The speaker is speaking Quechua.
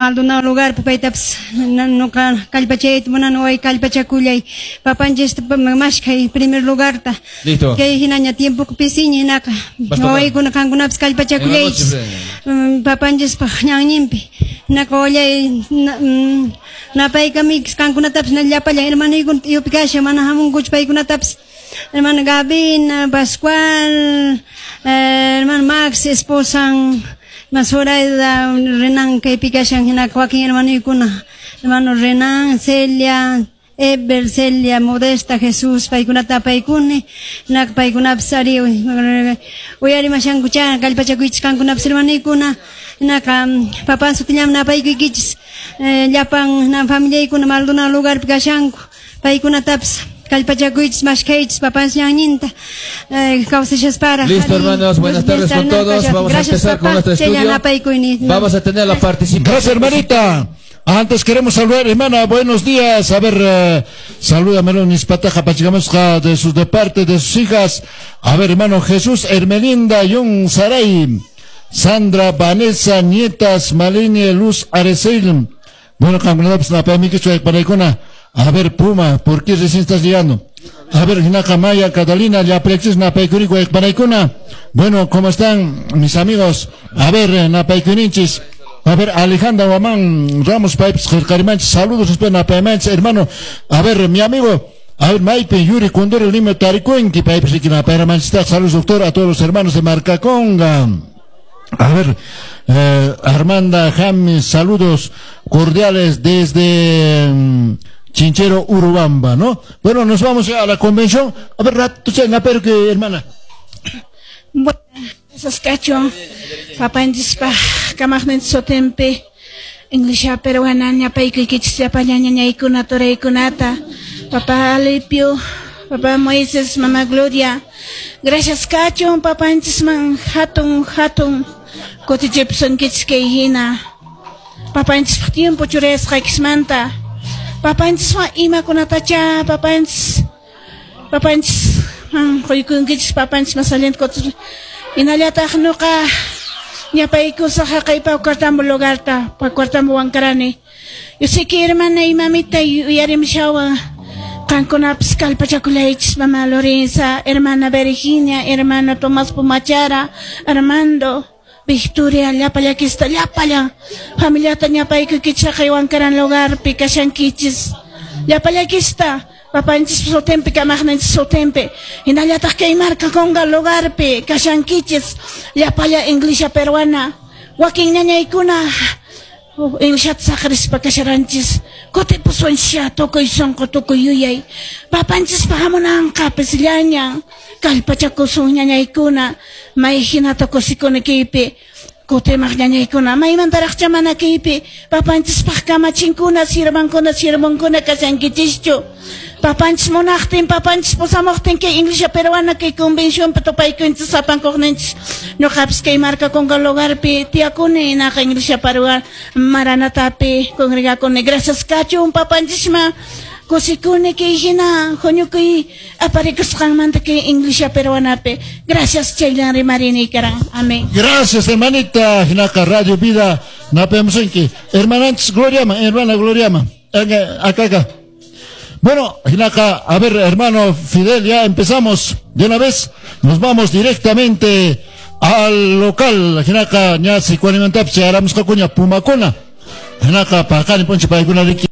Maldonado lugar paytapas nuqa kallpachayta munani way kallpachakullay papanchista mashkhay primer lugarta. Listo. Kay hinaña tiempoqa pisiña hinaqa Vas tocar. Wawaykuna qankunapas kallpachakullaychis papanchispaq ñanninpi hinaqa wallay napaykamikis qankunatapas llapallan hermanoykuna t'iyupi kashan mana hamunkuchu paykunatapas hermano Gabina, Pascual, hermano Max, esposan Zoraida, Renan kaypi kashan hinaqa wakin hermanoykuna hermano Renan, Celia, Eber, Celia, Modesta, Jesús, paykunata apaykuni hinaqa paykunapas ari uyarimashankucha kallpachakuychis qankunapas hermanoykuna hinaqa papan sutillaman apaykuykichis llapan familiaykuna Maldonado lugarpi kashanku paykunatapas kallpachakuychis mashkhaychis papanchis ñanninta kawsashasparaq. Listo, hermanos, buenas tardes con todos. Vamos a empezar con nuestro estudio. Vamos a tener la participación. Gracias, hermanita. Antes queremos saludar, hermana, buenos días. A ver, salúdame, Nispataja, Pachicamusca, de sus de parte de sus hijas. A ver, hermano Jesús, Hermelinda, Jung Saray, Sandra, Vanessa, Nietas, Malini, Luz, Arecel. Bueno, a ver, Puma, ¿por qué recién estás llegando? A ver, Hinaka Maya, Catalina, Yaprexis, Napaikurico, Ekpanaikuna. Bueno, ¿cómo están mis amigos? A ver, Napaikuninchis. A ver, Alejandra Guamán, Ramos Pipes, Jercarimanchis, saludos, Napaimanchis, hermano. A ver, mi amigo, a ver, Maipe, Yuri, Condor, Lima, Taricuenqui, Pipes, Napaimanchis, saludos, doctor, a todos los hermanos de Marcaconga. A ver, Armanda James, saludos cordiales desde Chinchero, Urubamba, ¿no? Bueno, nos vamos a la convención. A ver, rato, pero que, hermana. Bueno, cacho, papanchispa, kamaqnin sutinpi, Iglesia peruana, ñapaykichis llapallan ñañaykuna, turaykunata, papá Alipio, papá Moisés, mamá Gloria. Gracias, cacho, papanchisman, hatun, hatun, kutichipsunkichis kay hina. Papanchispaq tiempo churayasqaykismanta. Papanchiswan imakunatacha, papanchis, papanchis, quykunkichis, papanchis masallinta kutis. Hinallataq nuqa ñapaykusaq haqay Paucartambo lugarta, Paucartambo Huancarani. Yo sé que hermana y mamita uyarimushawan qankunapas kallpachakullaychis, mamá Lorenza, hermana Virginia, hermano Tomás Pumachara, Armando, Victoria, llapallakista, llapallan familiata ñapaykukichis haqay Huancaran lugarpi kashankichis. Llapallakista, papanchis sutinpi, kamaqninchis sutinpi, hinallataq kay Marcaconga lugarpi kashankichis, llapalla Iglesia peruana, wakin ñañaykuna Iglesiata saqrispa kasharanchis, kutipusunchis tukuy sunqu tukuy yuyay, papanchispa hamunanqa pisillañan, kallpachakusun ñañaykuna, may hinata kusikuni kaypi, kutimaq ñañaykuna, maymantaraqcha mana kaypi, papanchispaq kamachinkuna, sirvankuna, sirvonkuna kashankichischu. Papanchis munaqtin, papanchis pusamuqtin kay Iglesia peruana kay convencionpi tupaykunchis sapankuqninchis. Ñuqapis kay Marcaconga lugarpi tiyakuni, naqa Iglesia peruana Maranatapi congregakuni. Gracias kachun papanchisman. Kusikuni kay hina huñukuy aparikusqanmanta kay Iglesia peruanapi. Gracias chayllan rimarini karan. Amén. Gracias, hermanita. Hinaka Radio Vida napayamusunki. Hermananchis Gloriama, hermana Gloriama. Acá, acá. Bueno, Hinaka, a ver, hermano Fidel, ya empezamos de una vez. Nos vamos directamente al local. Hinaka, ña, sicuanimantapsi, aramusqakuña, Pumakuna. Hinaka, paqani, ponche, paykuna, riki.